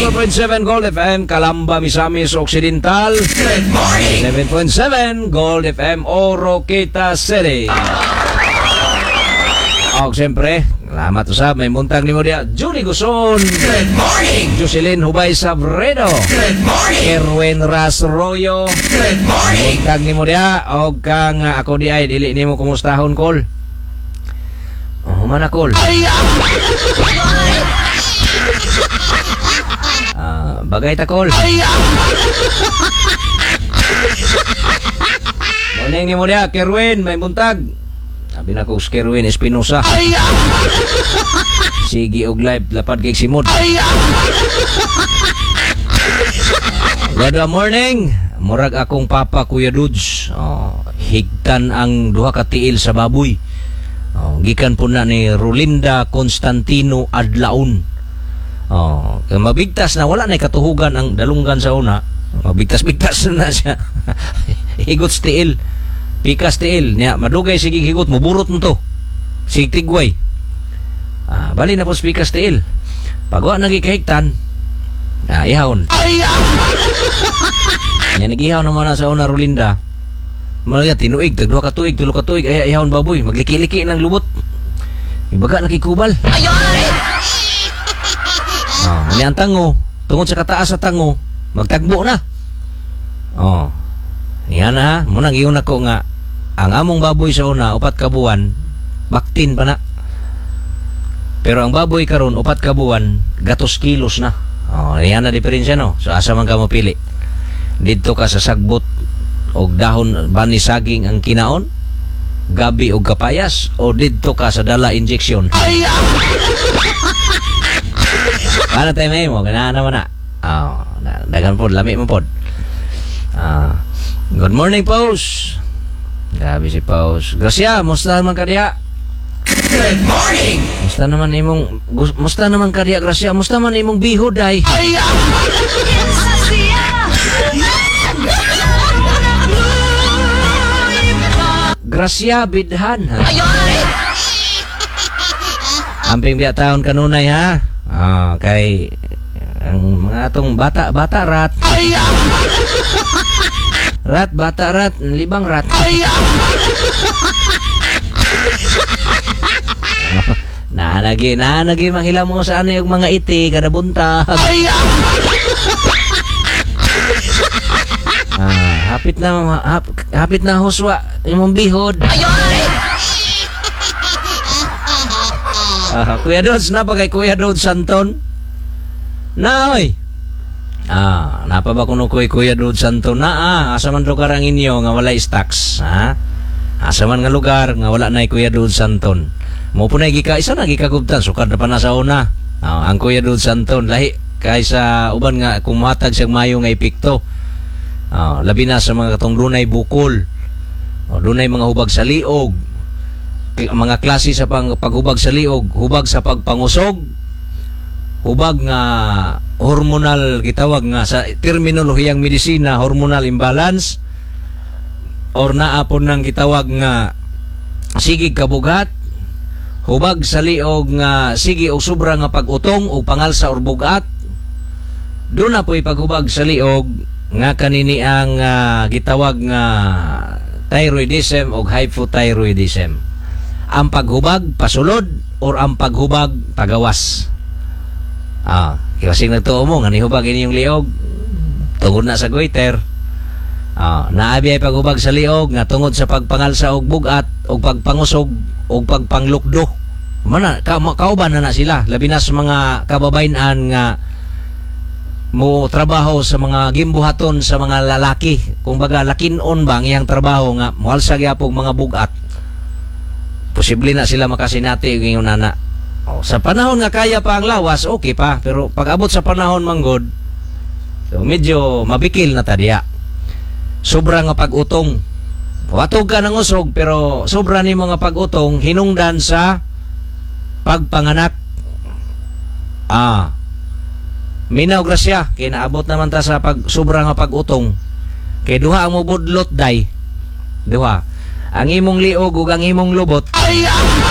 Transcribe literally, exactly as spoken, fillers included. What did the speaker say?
seven point seven Gold F M Calamba, Misamis Occidental. Good morning. seven point seven Gold F M Oroquieta City. Og siyempre, salamat usab, may buntag nimo diya, Julie Guson. Good morning. Jocelyn Hubay Sabredo. Good morning. Erwin Rasroyo. Good morning. Buntag nimo diya, og kang uh, ako di ay dili nimo kumustahon, kol. Oh, man kol. Ah, bagay ta, kol. Morning nimo diya, Kerwin, may buntag. Sabi na ko si Kerwin Espinosa. Sige og live lapad kay simod. Good morning. Murag akong papa, Kuya Dudes. Oh, higtan ang duha ka tiil sa baboy. Oh, gikan po na ni Rolinda Constantino Adlaon. Oh, kay mabigtas na, wala na katuhugan ang dalunggan sa una. Mabigtas-bigtas na siya. Higot sa tiil. Pikas tiil niya, madugay sige higot, muburot mo to. Sige tigway. Ah, bali na po sa pikas tiil. Pag wa nagikahigtan, ah, ihawon. Nya nagihaw naman na sa una, Rolinda. Malaya tinuig, tag duha ka tuig, tulo ka tuig, ay ihawon baboy, magliki-liki ng lubot. Ibaga nakikubal. Oh, ni ang tango, tungod sa kataas sa tango, magtagbo na. Oh. Yan na ha, muna giyon ako nga ang among baboy sa una upat ka buwan, baktin pa na. Pero ang baboy karon upat ka buwan, gatos kilos na. Oh, yan na diferensya, no. So asa man ka mopili? Didto ka sa sagbot og dahon bani saging ang kinaon, gabi og kapayas, o didto ka sa dala injection. Ano tayo may mo? Ganahan naman na. Oh, na, dagan pod, lami mo pod. Ah, good morning, Paus. Grabe si Paus. Gracia, musta naman ka diha? Good morning. Musta naman imong gus- musta naman ka diha, Gracia? Musta man imong bihod ay? Gracia bidhan, ha. Amping biya taon kanunay, ha. Ah, kay ang mga atong bata bata rat. Rat bata rat, libang rat. Naanagi, naanagi manghila mo sa ano yung mga iti kada buntag. Ah, hapit na hap, hapit na huswa imong bihod. Ah, Kuya Dodds, na pa kay Kuya Dodds Santon? Na oy. Ah, napa ba kuno koy Kuya Dodds Santon na ah, asa man lugar ang inyo nga walay stocks, ha? Asa man nga lugar nga wala na Kuya Dodds Santon? Mo po na gika isa na gikagubtan sukad na pa na sa una. Ah, ang Kuya Dodds Santon lahi kaysa uban nga kung matag siyang mayo nga epekto. Ah, labi na sa mga katong dunay bukol. O, dunay mga hubag sa liog. Mga klase sa pang, paghubag sa liog, hubag sa pagpangusog, hubag nga hormonal gitawag nga sa terminolohiyang medisina hormonal imbalance, or naapon nang gitawag nga sige kabugat, hubag sa liog nga sige og sobra nga pag-utong o pangalsa or bugat. Doon na po'y paghubag sa liog nga kanini ang ah, gitawag nga thyroidism o hypothyroidism. Ang paghubag pasulod or ang paghubag pagawas. Ah, kasi nagtuo mo nga nihubag inyong liog tungod na sa goiter. Ah, naabi ay paghubag sa liog nga tungod sa pagpangalsa og bugat og pagpangusog og pagpanglukdo. Mana ka, kauban na na sila labi na sa mga kababayen-an nga mo trabaho sa mga gimbuhaton sa mga lalaki. Kumbaga lakinon ba ang iyang trabaho nga moalsa gyapon mga bugat. Posible na sila makasinati og ingon nana. O, sa panahon nga kaya pa ang lawas, okay pa. Pero pag abot sa panahon manggod, so medyo mabikil na ta diya. Sobra nga pag-utong. Watog ka ng usog, pero sobra ni mga pag-utong hinungdan sa pagpanganak. Ah. Minaw grasya, kay naabot naman ta sa pag sobra nga pag-utong. Kay duha ang mobudlot day. Duha. Ang imong liog ug ang imong lubot.